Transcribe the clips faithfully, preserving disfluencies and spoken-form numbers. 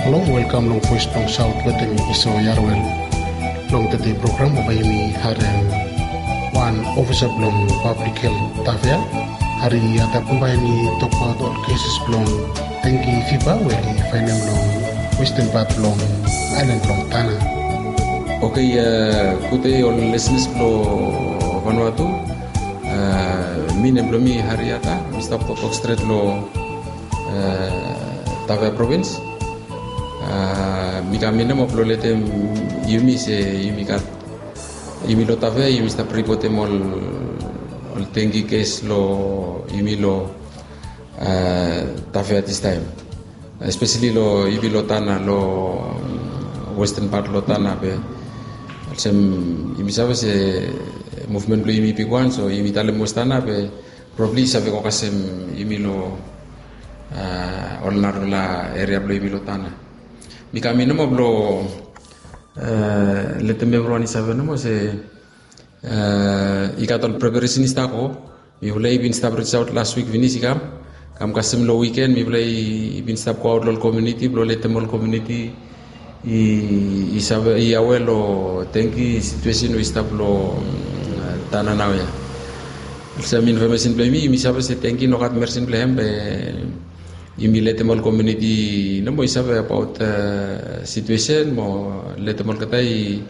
Long welkam long Voes blong Saot wetem Iso Yarwel. Long tede program bae yumi harem wan ofisa blong pablik helt Tavea. Hari Yata bae yumi tokbaot ol kesis blong dengi fiva we oli faenem long westan pat blong aelan blong Tana. Oke, gud dei ol lisenas blong Vanuatu. Mi nem blong mi Hari Yata, mi stap toktok stret long Tavea provins. Mi kam ia nomo blong letem yumi se yumi gat, yumi long Tavea yumi stap ripotem ol, ol dengi kes long yumi long Tavea distaem. Espeseli long yumi long Tana, long westan pat long Tana be olsem yumi save se muvmen blong yumi bigwan, so yumi talem West Tana be probabli i save go kasem yumi long ol narafala eria blong yumi long Tana. Mi kam ia nomo blong letem evriwan i save nomo se i gat ol preparesen i stap go. Mifala i bin stap risaot las wik finis i kam, kam kasem long wiken mifala i bin stap goaot long ol komuniti blong letem ol komuniti i save, i awe long dengi situesen we i stap long Tana naoia. Olsem infomesen blong yumi, yumi save se dengi i no gat medisen blong hem be yumi letem ol komuniti nomo i save abaot situesen mo letem olgeta i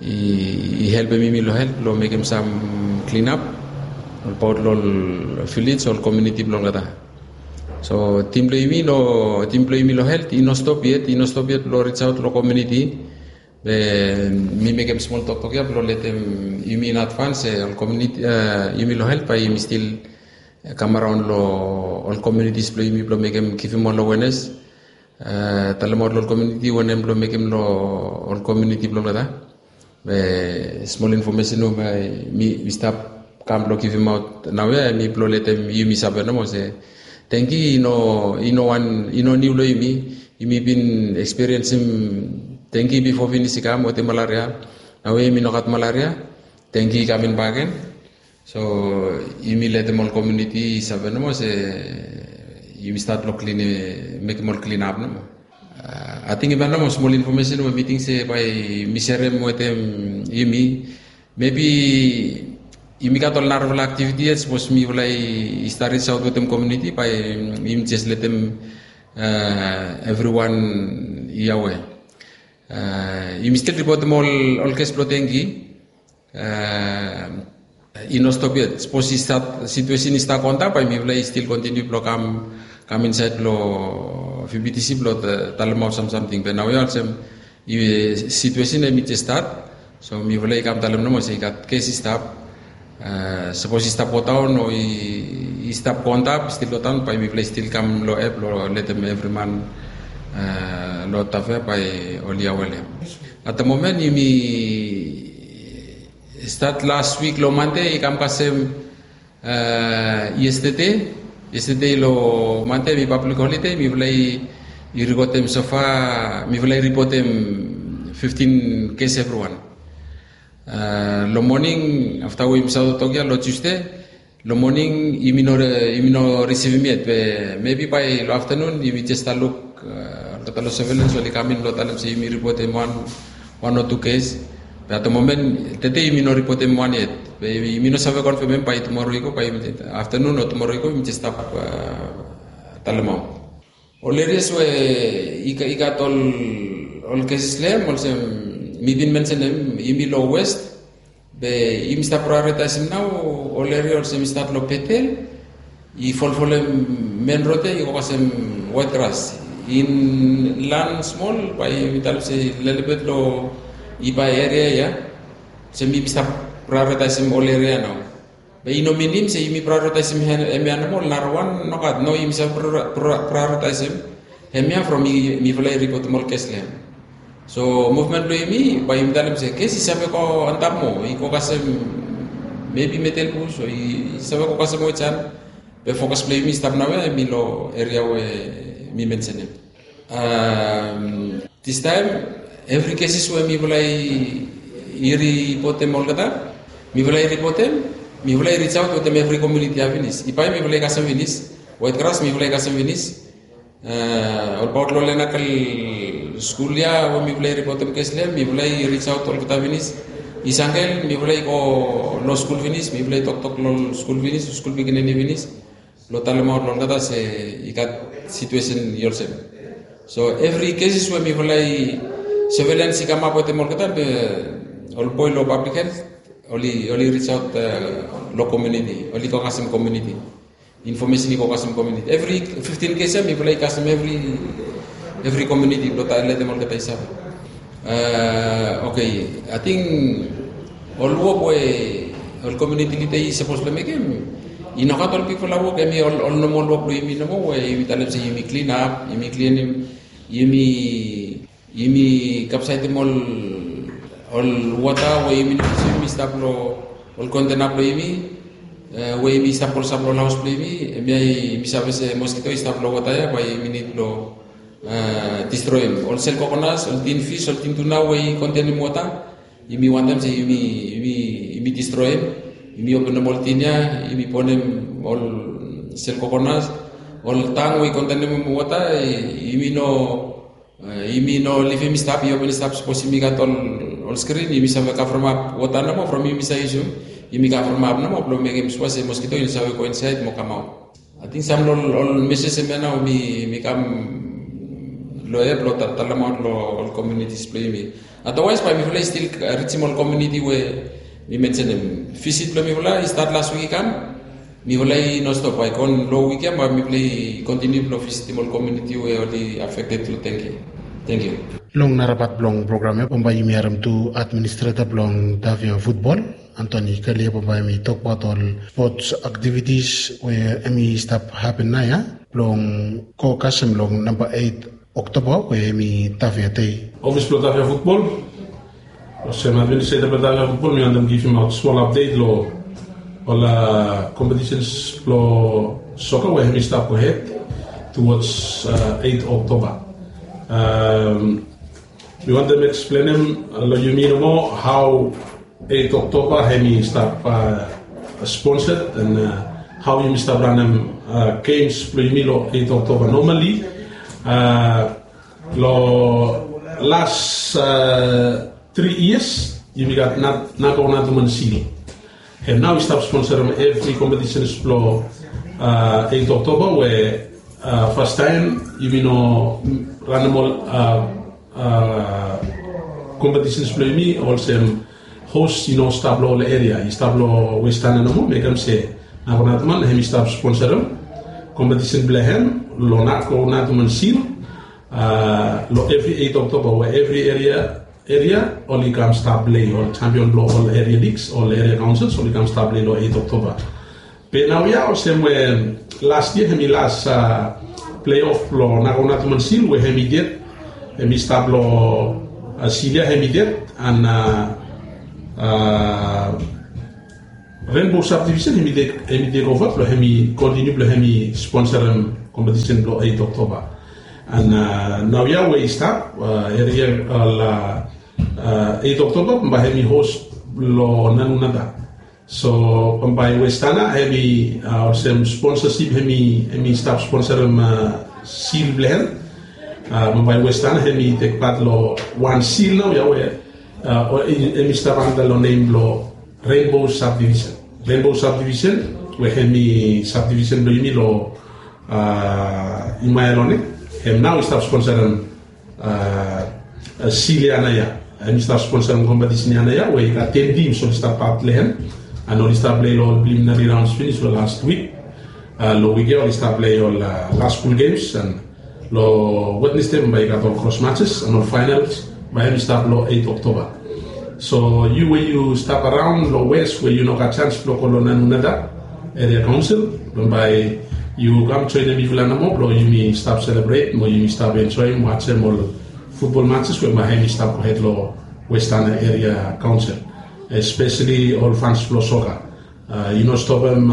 i helpem yumi long help long mekem sam klinap abaot long ol vilej, ol komuniti blong olgeta. So tim blong yumi long, tim blong yumi long helt i no stop yet, i no stop yet blong risaot long komuniti. Be mi mekem smol toktok ia blong letem yumi in advans se ol komuniti, yumi long helt bae yumi stil kam araon long ol komunitis blong yumi blong mekem, givim ol awenes, talemaot long ol komuniti wanem blong mekem long ol komuniti blong olgeta. Be smol infomesen we mi stap kam blong givimaot naoia hemi blong letem yumi save nomo se dengi i no, i no wan, i no niu long yumi. Yumi bin ekspiriensim dengi bifo finis i kam wetem malaria. Naoia yumi no gat malaria, dengi i kam in bakegen. So yumi letem ol komuniti i save nomo se yumi stat long klinim, mekem ol klinap nomo. Ating i bai nomo smol infomesen we mi ting se bae mi serem wetem yumi. Mebi yumi gat ol narafala aktiviti yet sapos mifala i stat risaot wetem komuniti bae yumi jes letem evriwan i awe. Yumi stil ripotem ol kes blong dengi. I no stop yet. Sapos i stat, situesen i stat go antap bae mifala i stil kontiniu blong kam, kam insaed long VBTC blong talemaot sam samting. Be naoia olsem situesen hemi jes stat, so mifala i kam talem nomo se i gat kes i stap. Sapos i stap godaon o i stap go antap, stil godaon, bae mifala i stil kam long ep blong letem evri man long Tafea bae oli awe long hem. At the moment yumi stat las wik long Mande i kam kasem yestede. Yestede long Mande hemi pablik holide, mifala i ripotem sofa, mifala i ripotem fiftin kes evriwan. Long moning afta we yumi save toktok ia long Tusde, long moning yumi no, yumi no risivim yet, be mebi bae long aftanun yumi jes stap luk olgeta long sevelens oli kam in blong talem se yumi ripotem wan, wan o tu kes. Be at the moment tede yumi no ripotem wan yet. Be yumi no save konfemem bae tumoro i go, bae aftanun o tumoro i go yumi jes stap talemaot. Ol erias we i gat ol, ol kesis long hem olsem mi bin mensenem, yumi long West, be yumi stap praeoritaesim nao ol eria olsem i stat long Betel i folfolem men rod ia i go kasem Waitgras. Inlan smol bae yumi talem se lelebet long i bae eria ia olsem yumi stap praeoritaesim ol eria nao. Be i no minim se yumi praeoritaesim hemia nomo, ol narawan nogat. No, yumi save praeoritaesim hemia from mifala i ripotem ol kes long hem. So muvmen blong yumi bae yumi talem se kes i save go antap moa, i go kasem mebi Metelbus o i save go kasem Wejan. Be fokas blong yumi stap naoia hemi long eria we mi mensenem. Distaem evri kesis we mifala i ripotem olgeta, mifala i ripotem, mifala i risaot wetem evri komuniti ia finis. Ibae mifala i kasem finis, Waitgras mifala i kasem finis. Olbaot long lenakel skul ya we mifala i ripotem kes long hem, mifala i risaot olgeta finis. I sangel mifala i go long skul finis, mifala i toktok long skul finis, skul pikinini finis, blong talemaot long olgeta se i gat situesen i olsem. So evri kesis we mifala i, sevelians i kamap wetem olgeta be ol boe long pablik helt oli risaot long komiuniti, oli go kasem komiuniti. Infomesen i go kasem komiuniti evri fiftin kes ya mifala i kasem evri komiuniti blong letem olgeta i save. Okei, ating ol wok we ol komiuniti lida i sapos blong mekem, i nogat ol bigfala wok, hemi ol nomol wok blong yumi nomo we yumi talem se yumi klinap, yumi klinim, yumi yumi kapsaitim ol wota we yumi no yusum i stap long ol kontena blong yumi, we yumi stap klosap long ol haos blong yumi. Hemia yumi save se moskito i stap long wota ya, bae yumi nid blong distroem ol sel kokonas, ol tin fis, ol tin tuna we i kontenem wota. Yumi wantem se yumi distroem. Yumi openem ol tin ya, yumi bonem ol sel kokonas, ol tang we i kontenem wota. Yumi no yumi no livim i stap, i open i stap sapos yumi gat ol skrin, yumi save kavremap wota nomo from yumi save yusum. Yumi kavremap nomo blong mekem sua se moskito i no save go insaed mo kamaot. Ating sam long ol meses hemia nao mi kam long hed blong talemaot long ol komiunitis blong yumi. Adawaes bae mifala i stil rijim ol komiuniti we mi mensenem. Visit blong mifala i stat las wik i kam. Mifala i no stop, bae i go long wik ya bae mifala i kontiniu blong visitim ol komiuniti we oli afekted long dengki. Tangkiu. Long narapat blong program ya bambae yumi harem tu administreta blong Tafea futbol, Antoni Kalia, bambae hemi tokbaot ol spots aktivitis we hemi stap hapen nao ya blong go kasem long namba eit Oktoba we hemi Tafea dei. Ofis blong Tafea futbol, olsem administreta blong Tafea futbol, mi wantem givimaot smol apdet long ol kompetisens blong soka we hemi stap gohed tuwods eit Oktoba. Mi wantem eksplenem long yumi nomo hao eit Oktoba hemi stap sponsed and hao yumi stap ranem gems blong yumi long eit Oktoba. Nomali long las tri yias yumi gat Nago Natuman Sil. Hem nao i stap sponsorem evri kompetisens blong eit Oktoba, we fastaem yumi no ranem ol kompetisens blong yumi olsem hos i no stap long ol eria, i stap long Westana nomo. Mekem se Nago Natuman hemi stap sponsorem kompetisen blong hem long Nago Natuman Sil long evri eit Oktoba, we evri eria oli kam stap plei, ol jampion blong ol eria ligs, ol eria kaonsils oli kam stap plei long eit Oktoba. Be naoia olsem we las yia hemi las pleiof blong Nago Natuman Sil we hemi ded, hemi stap long sil ya hemi ded, and Renbo Sabdivisen hemi tek ova blong hemi kontiniu blong hemi sponsorem kompetisen blong eit Oktoba. And naoia we i stap, eria ol eit Oktoba bambae hemi hos long Nanunada. So bambae Westana hemi olsem sponsosip hemi stap sponsorem sil blong hem. Bambae Westana hemi tek pat long wan sil naoia we hemi stap anda long nem blong Renbo Sabdivisen. Renbo Sabdivisen we hemi sabdivisen blong yumi long Imaelone, hem nao i stap sponsorem sil ya naoia. Hemi stap sponsorem kompetisen ya naoia we i gat ten tims oli stap pat long hem. And oli stap plei long ol preliminari raons finis long las wik. Long wik ya oli stap plei ol las skul gems, and long Wednesde bambae i gat ol kros matses and ol faenals, bae hemi stap long eit Oktoba. So yu we yu stap araon long Wes we yu no gat jans blong go long Nanunada eria kaonsil, bambae yu kam joenem mifala nomo blong yumi stap selebret mo yumi stap enjoem wajem ol futbol matses we bambae hemi stap gohed long Westana eria kaonsil, espeseli ol fans blong soka. Yu no stopem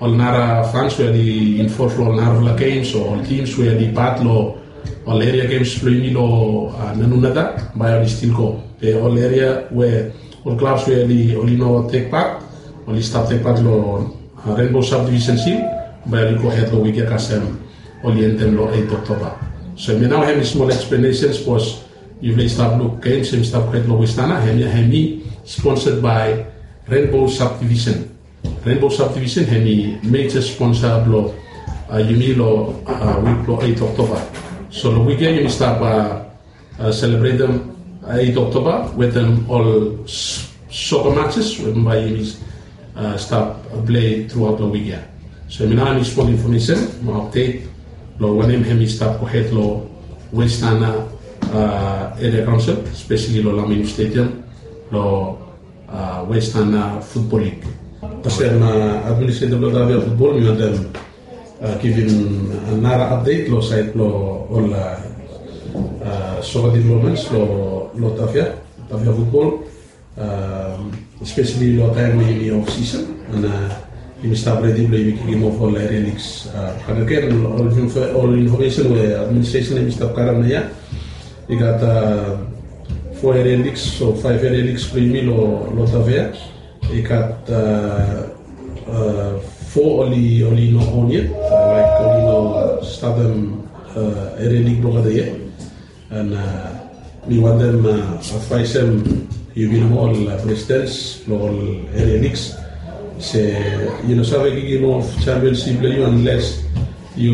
ol nara fans we oli involv long ol narafala gems o ol tims we oli pat long ol eria gems blong yumi long Nanunada, bae oli stil go. Be ol eria we ol klabs we oli no tek pat, oli stap tek pat long Renbo Sabdivisen sil, bae oli gohed long wik ya kasem oli endem long eit Oktoba. So hemia nao hemi smol eksplanesen sapos yufala i stap luk gems hemi stap gohed long Westana, hemia hemi sponsored by Rainbow Subdivision. Rainbow Subdivision hemi major sponsor blong yumi long wik blong eit Oktoba. So long wik ya yumi stap selebretem eit Oktoba wetem ol soka matches we bambae yumi stap plei truaot long wik ya. So hemia nao hemi smol infomesen mo apdet long wanem hemi stap gohed long Westana Area Council, espeseli long Laminu Stadium long Westana Futbol Lig. Olsem administrator blong Tafea Futbol, mi wantem givim nara apdet long saed blong ol soka developments long Tafea, Tafea Futbol, espeseli long taem we yumi off season, and yumi stap redi blong yumi kikim of ol area leagues. Bakegen ol infomesen we administration hemi stap karem naoia, i gat fo area leagues o faef area leagues blong yumi long Tafea. I gat fo oli oli no on yet, laek oli no statem area league blong olgeta yet. And mi wantem advaesem yumi nomo ol presidents blong ol area leagues se yu no save kikim of championship blong yu unless yu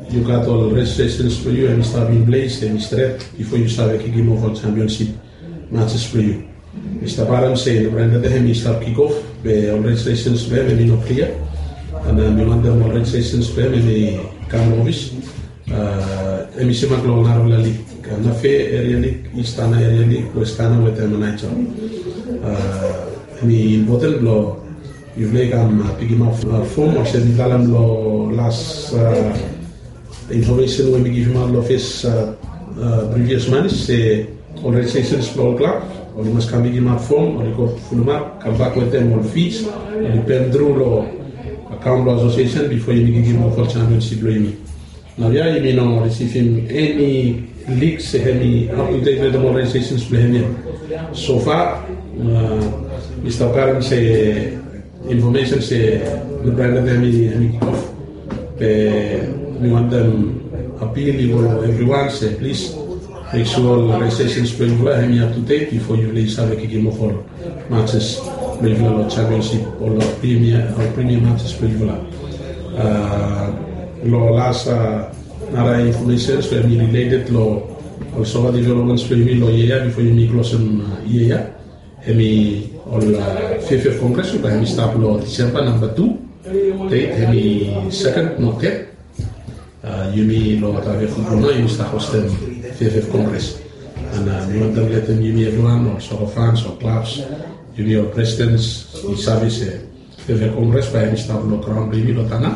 yu gat ol registrations blong yu hemi stap in place, hemi stret bifo yu save kikim of ol championship matches blong yu. Mi stap harem se no brenda de hemi stap kick off be ol registrations blong hem hemi no klia. And mi wantem ol registrations blong hem hemi kam long ofis. Hemi semak long narafala lig, Nafe area lig, Istana area lig, Westana wetem Naijo. Hemi impoten blong yufala i kam pikimap fom olsem mi talem long las infomesen we mi givimaot long fes previous manis se ol registrations blong ol klab oli mas kam pikimap fom, oli go fulumap, kambak wetem ol fees, oli pem tru long akaon blong asosiesen bifo yumi kikim of ol championship blong yumi. Naoia yumi no risivim eni lig se hemi aptudet wetem ol registrations blong hem yet. So far mi stap karem se infomesen se no brenda de hemi hemi kick off. Be mi wantem apil i go long evriwan se plis mek sua ol registrations blong yufala hemi aptudet bifo yufala i save kikim of ol matches blong yufala long championship o long premier o premier matches blong yufala. Long las nara infomesen we hemi rileted long ol soka developments blong yumi long yia ya bifo yumi klosem yia ya. Hemi ol fiafia kongres we bae hemi stap long Disemba namba tu, det hemi seken mo ted. Yumi long Tafea Futbol nao yumi stap hostem fiafia kongres. And mi wantem letem yumi evriwan ol soka fans ol klabs, yumi ol presidents i save se fiafia kongres bae hemi stap long graon blong yumi long Tana.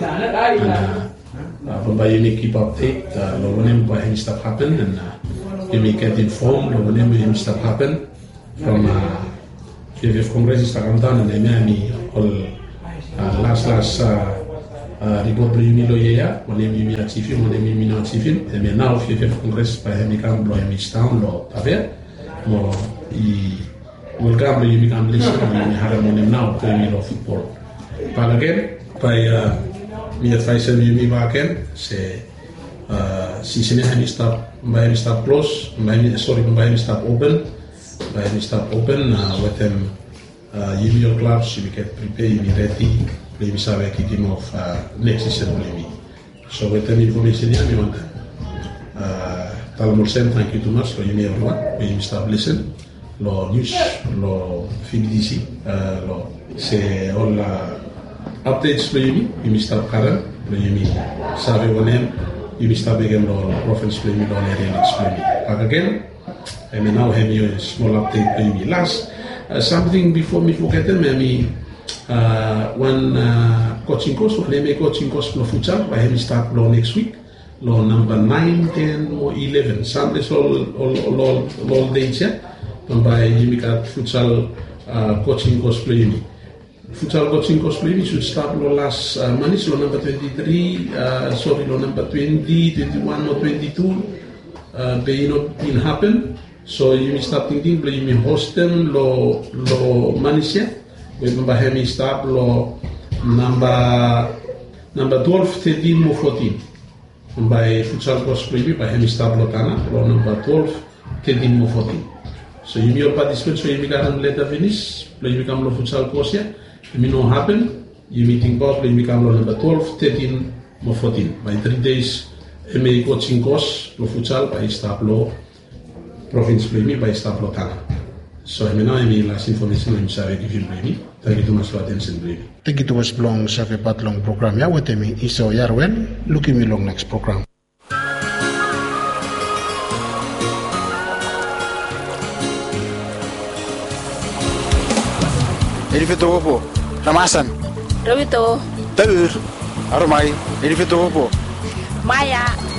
And bambae yumi kip apdet long wanem bae hemi stap hapen, and yumi getem fom long wanem we hemi stap hapen. From fiafia kongres i stap kamdaon, and hemia hemi ol las las ripot blong yumi long yia ya, wanem yumi ajivim, wanem yumi no ajivim. Hemia nao fiafia kongres bae hemi kam blong hemi sidaon long Tafea mo i welkam blong yumi kam lisin mo yumi harem wanem nao blong yumi long futbol. Bakegen bae mi advaesem yumi bakegen se sisen ya hemi stap, bambae hemi stap klos, bambae hemi, sori, bambae hemi stap open, bambae hemi stap open wetem yumi ol klabs yumi get pripea, yumi redi blong yumi save kikim of neks sisen blong yumi. So wetem infomesen ya mi wantem talem olsem tangkiu tumas long yumi evriwan we yumi stap lisin long nius long V B T C long se ol apdets blong yumi, yumi stap karem blong yumi save wanem yumi stap mekem long ol provins blong yumi, long ol eria ligs blong yumi. Bakegen hemia nao hemi smol apdet blong yumi. Las samting bifo mi fogetem, hemi wan kojing kos, wan hemi kojing kos blong futsal bae hemi stap long neks wik long namba naen, ten mo ileven, Sande, ol ol ol dets ya. Bambae yumi gat futsal kojing kos blong yumi. Futsal kojing kos blong yumi sud stap long las manis long namba twenti tri, sori, long namba twenti, twenti wan mo twenti tu, be i no bin hapen. So yumi stap tingting blong yumi hostem long manis ya we bambae hemi stap long namba twelve, tetin mo fotin. Bae futsal kos blong yumi bae hem i stap long Tanna long namba twelve, thirteen mo fourteen. So yumi ol patisipet, so yumi karem leta finis blong yumi kam long futsal kos ya. Hem i no hapen. Yumi tingbaot blong yumi kam long namba twelve, thirteen mo fourteen. Bae three days M A coaching kos blong futsal bae i stap long provins blong yumi bae i stap long Tanna. So hemia nao hem i las infomesen we yumi save givim blong yumi. Tangkiu tumas long atensen blong yumi. Tangkiu tumas blong save pat long program ya wetem mi Isao Yarwel. Lukim yu long neks program. Elifetowopo, Ramasan, Rawito, Taur, Aromai, Elifetowopo, Maya.